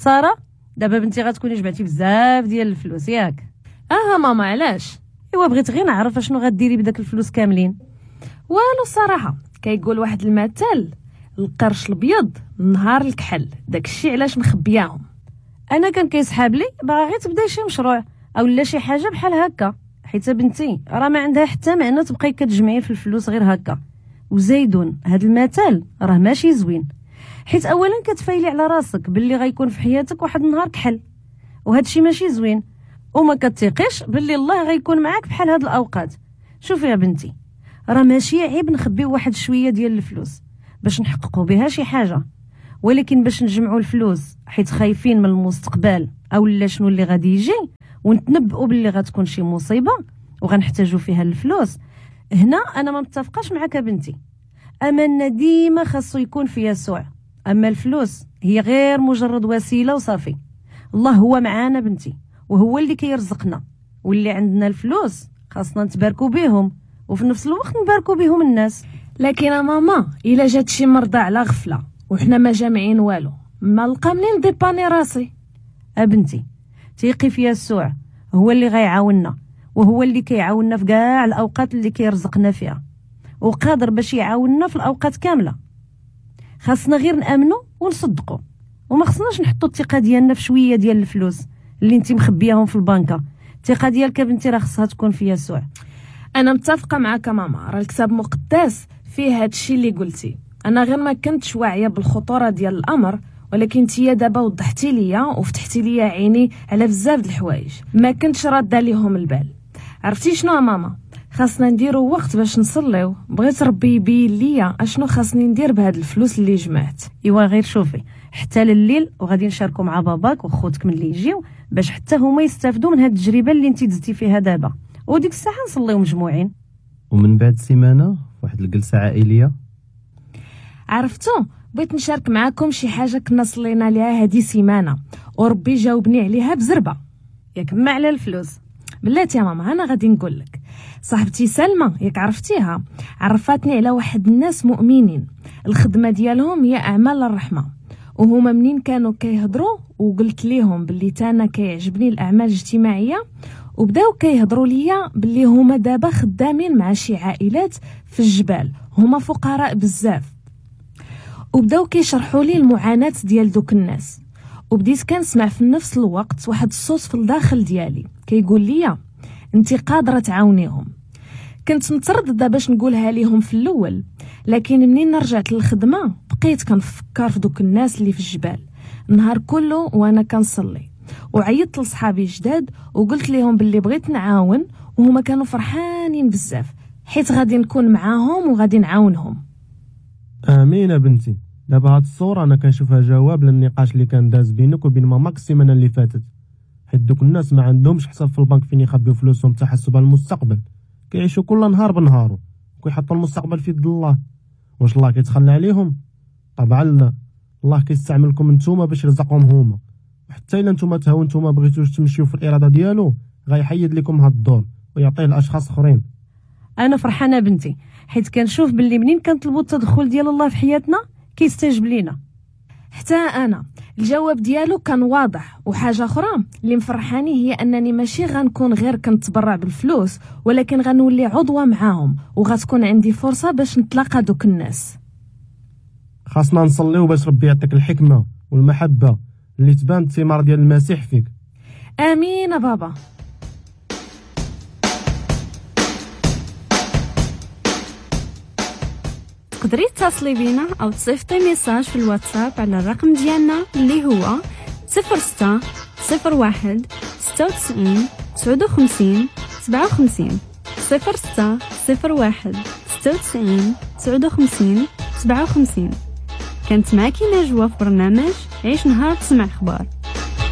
ساره، دابا بنتي غتكوني جمعتي بزاف ديال الفلوس ياك؟ ماما علاش؟ ايوا بغيت غير نعرف اشنو غديري بداك الفلوس كاملين. والو الصراحة كيقول واحد المثل، القرش الابيض نهار الكحل، داكشي علاش مخبياهم. انا كان كيسحاب لي باغا غير تبداي شي مشروع او لا شي حاجة بحال هكا، حيت بنتي راه ما عندها حتى معنى تبقاي كتجمعي في الفلوس غير هكا. وزايدون هاد المثل راه ماشي زوين، حيت اولا كتفايلي على راسك باللي غيكون في حياتك واحد النهار كحل، وهاد الشيء ماشي زوين، وما كتثقيش باللي الله غيكون معاك بحال هاد الاوقات. شوفي يا بنتي، راه ماشي عيب نخبيو واحد شوية ديال الفلوس باش نحققوا بها شي حاجة، ولكن باش نجمعوا الفلوس حيت خايفين من المستقبل او لا شنو اللي غادي يجي ونتنبؤوا باللي غتكون شي مصيبة وغنحتاجوا فيها الفلوس، هنا انا ما متفقاش معاك بنتي. املنا ديما خاصو يكون في يسوع، اما الفلوس هي غير مجرد وسيلة وصافي. الله هو معانا بنتي، وهو اللي كيرزقنا، واللي عندنا الفلوس خاصنا نتباركوا بهم وفي نفس الوقت نباركوا بهم الناس. لكن ماما الا جات شي مرضى على غفلة وحنا ما جامعين والو، ما لقى منين dépanner راسي. ابنتي تيقي في يسوع، هو اللي غيعاوننا، وهو اللي كيعاوننا في كاع الاوقات اللي كيرزقنا فيها، وقادر باش يعاوننا في الاوقات كاملة. خاصنا غير نامنوا ونصدقوا، وما خصناش نحطوا الثقة ديالنا في شوية ديال الفلوس اللي انت مخبياهم في البنكه. الثقة ديالك بنتي راه خصها تكون في يسوع. انا متفقه معاك ماما، راه الكتاب مقدس فيه هادشي اللي قلتي. انا غير ما كنتش واعية بالخطوره ديال الامر، ولكن انتيا دابا وضحتي ليا وفتحتي ليا عيني على بزاف د الحوايج ما كنتش راده ليهم البال. عرفتي شنو ماما؟ خاصنا نديرو وقت باش نصليو. بغيت ربي يبين ليا اشنو خاصني ندير بهاد الفلوس اللي جمعت. ايوا غير شوفي حتى لليل وغادي نشاركو مع باباك وخوتك ملي يجيو باش حتى هما يستافدوا من هاد التجربة اللي انت دزتي فيها دابا، وديك الساعة نصليو مجموعين. ومن بعد سيمانه واحد الجلسة عائلية. عرفتو بغيت نشارك معاكم شي حاجة كنا صلينا ليها هادي سيمانه وربي جاوبني عليها بزربه. ياك ما على الفلوس؟ بلاتي يا ماما انا غادي نقول لك. صاحبتي سلمى ياك عرفتيها، عرفتني على واحد الناس مؤمنين، الخدمة ديالهم هي اعمال الرحمة، وهما منين كانوا كيهضروا وقلت ليهم باللي تانا كيعجبني الاعمال الاجتماعية، وبداو كيهضروا ليا باللي هما دابا خدامين مع شي عائلات في الجبال، هما فقراء بزاف، وبداو كيشرحوا لي المعاناة ديال دوك الناس. وبديت كنسمع في نفس الوقت واحد الصوت في الداخل ديالي كيقول لي انت قادرة تعاونيهم. كنت مترددة باش نقولها ليهم في الاول، لكن منين رجعت للخدمة بقيت كنفكر في دوك الناس اللي في الجبال النهار كله وانا كنصلي. وعيطت لصحابي جداد وقلت لهم باللي بغيت نعاون، وهما كانوا فرحانين بزاف حيت غادي نكون معاهم وغادي نعاونهم. امين بنتي. دابا هاد الصورة انا كنشوفها جواب للنقاش اللي كان داز بينك وبين ماماك السيمانة اللي فاتت، حيت دوك الناس ما عندهمش حساب في البنك فين يخبيو فلوسهم تحسبا للمستقبل، كيعيشوا كل نهار بنهارو وكيحطوا المستقبل في يد الله. واش الله كيتخلى عليهم؟ طبعا لا، الله كيستعملكم نتوما باش يرزقهم هما، وحتى الا نتوما تهاونتو ما بغيتوش تمشيو في الارادة ديالو غيحيد لكم هاد الدور ويعطيه لاشخاص اخرين. انا فرحانة بنتي حيت كنشوف باللي منين كنطلبوا التدخل ديال الله في حياتنا كيستجب لينا. حتى انا الجواب ديالو كان واضح. وحاجه اخرى اللي مفرحاني هي انني ماشي غنكون غير كنتبرع بالفلوس، ولكن غنولي عضوة معاهم وغتكون عندي فرصة باش نتلاقى دوك الناس. خاصنا نصليو باش ربي يعطيك الحكمة والمحبة اللي تبان الثمار ديال المسيح فيك. امين بابا. تقدري تتصلي بينا او تصيفطي message في الواتساب على الرقم ديالنا اللي هو 06 01 96 59 57 06 01 96 59 57. كانت معك نجوى في برنامج عيش نهار تسمع اخبار.